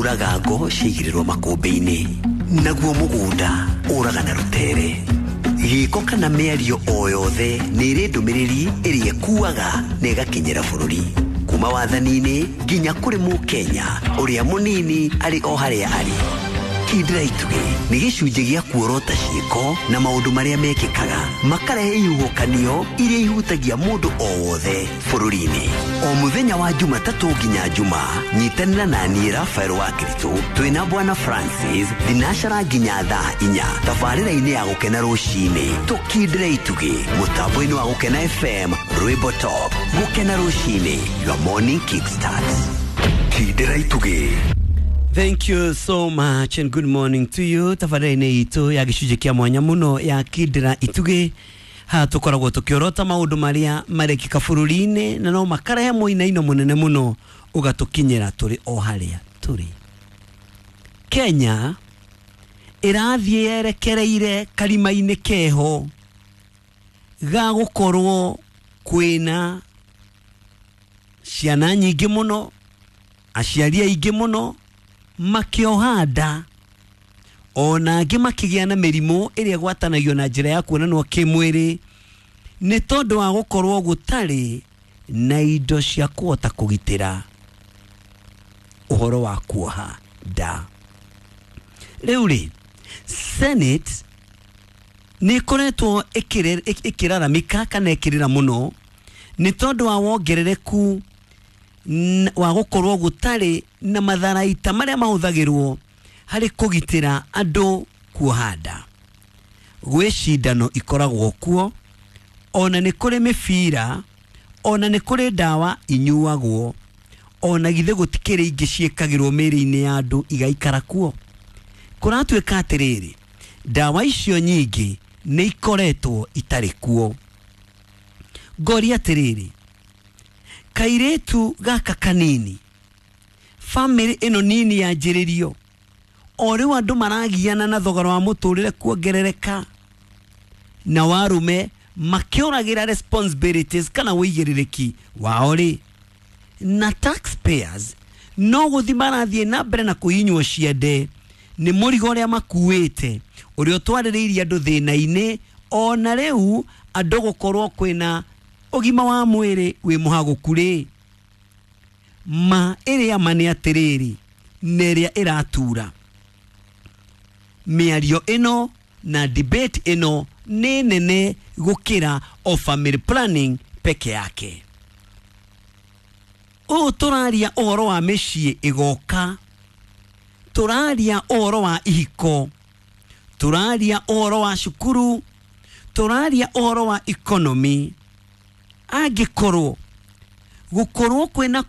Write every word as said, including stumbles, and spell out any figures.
Kuraga ngo ciaigĩrĩrwo makũmbĩ-inĩ, naguo mũgũnda ũraga na rũtere. Gĩko kana mĩario o yothe nĩ ĩrĩ ndũmĩrĩri ĩrĩa ĩkuaga na ĩgakinyĩra bũrũri, kuma wathani-inĩ nginya kũrĩ Mũkenya ũrĩa mũnini arĩ o harĩa arĩ. Kindĩra Itugĩ nĩ gĩcunjĩ gĩa kuorota ciĩko na maũndũ marĩa mekĩkaga makarehe ihuhũkanio iria ihutagia mũndũ o wothe bũrũri-inĩ. O mũthenya wa Jumatatũ nginya Juma, nyitanĩra na niĩ Rafael wa Kiritũ twĩna Bwana Francis thinacara nginya thaa inya tabarĩra-inĩ ya Gũkena Rũcinĩ. Tũkindĩre itugĩ mũtambo-inĩ wa Gũkena F M, Rwĩmbo Top. Gũkena Rũcinĩ, your morning kickstart. Kindĩra Itugĩ. Thank you so much and good morning to you. Tabarĩra-inĩ itũ ya gĩcunjĩ kĩa mwanya mũno ya Kindĩra Itugĩ, haha tũkoragwo tũkĩorota maũndũ marĩa marekĩka bũrũri-inĩ na no makarehe mũinaino mũnene mũno ũgatũkinyĩra tũrĩ o harĩa tũrĩ. Kenya ĩrathiĩ yerekereire karima-inĩ keho ga gũkorwo kwĩna ciana nyingĩ mũno, aciari aingĩ mũno makĩoha nda, ona angĩ makĩgĩa na mĩrimũ ĩrĩa ĩgwatanagio na njĩra ya kuonanwo kĩmwĩrĩ, nĩ tondũ wa gũkorwo gũtarĩ na indo cia kũhota kũgitĩra ũhoro wa kuoha nda. Rĩu rĩ, Senate nĩ ĩkoretwo ĩkĩre- ĩkĩraramika kana ĩkĩrĩra mũno nĩ tondũ wa wongerereku n- wa gũkorwo gũtarĩ na matharaita marĩa mahũthagĩrwo harĩ kũgitĩra andũ kuoha nda. Gwĩ cindano ikoragwo kuo, ona nĩ kũrĩ mĩbira, ona nĩ kũrĩ ndawa inyuagwo, ona githĩ gũtikĩrĩ ingĩ ciĩkagĩrwo mĩĩrĩ-inĩ ya andũ igaikara kuo. Kũratuĩka atĩrĩrĩ, ndawa icio nyingĩ nĩ ikoretwo itarĩ kuo. Ngoria atĩrĩrĩ, kairĩtu gaka kanini, bamĩrĩ ĩno nini yanjĩrĩrio o rĩu, andũ maragiana na thogora wa mũtũrĩre kuongerereka na warume makĩũragĩra responsibilities kana wĩigĩrĩrĩki wao rĩ, na taxpayers no gũthi marathiĩ na mbere na kũhinywo ciande nĩ mũrigo ũrĩa makuĩte, ũrĩa ũtwarĩrĩirie andũ thĩna-inĩ. Ona rĩu andũ gũkorwo kwĩna ũgima wa mwĩrĩ wĩ mũhagũku rĩ, ma ĩrĩa ma nĩ atĩrĩrĩ, na ĩrĩa ĩratura mĩario ĩno na debate ĩno nĩ nene gũkĩra o family planning peke yake. Ũũ tũraria ũhoro wa mĩciĩ ĩgoka, tũraria ũhoro wa ihiko, tũraria ũhoro wa cukuru, tũraria ũhoro wa economy. Angĩkorwo gũkorwo kwĩna